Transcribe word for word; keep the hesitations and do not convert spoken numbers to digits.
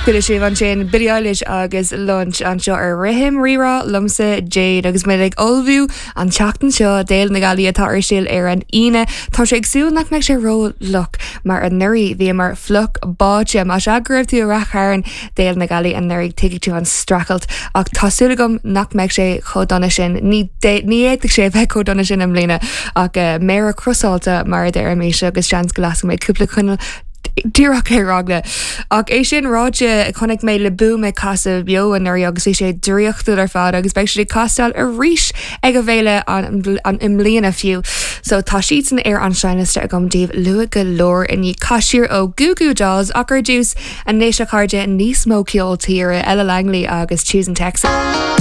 Chuala sibh ansin Billie Eilish agus Lunch anseo ar Rithim Rírá liomsa Jade agus mé ag ullmhú an tseachtain seo d'Fhéile na Gealaí atá ar siúl ar an Aoine. Tá sé ag súil nach mbeidh sé ró-fhliuch mar anuraidh bhíomar fliuch báite más ea go raibh tú i Rath Chairn d'Fhéile na Gealaí anuraidh tuigfidh tú an streachailt ach tá súil agam nach mbeidh sé chomh dona sin ní ní fhéadfadh sé bheith chomh dona sin i mbliana ach uh, méara crossáilte mar a deirimis agus seans go lasfaidh mé cúpla coinneal díreach ar eagla. Ach é sin ráite chonaic mé Le Boom ag casadh beo anuraidh agus bhí sé draíochtúil ar fad agus beidh siad ag casadh arís ag an bhféile an, an i mbliana fiú. So tá siad san ar an seinnliosta agam daoibh luath go leor inní Caisiir ó Goo Goo Dolls ach ar dtús anois a chairde níos mó ceol tíre Ella Langley agus Choosing Texas.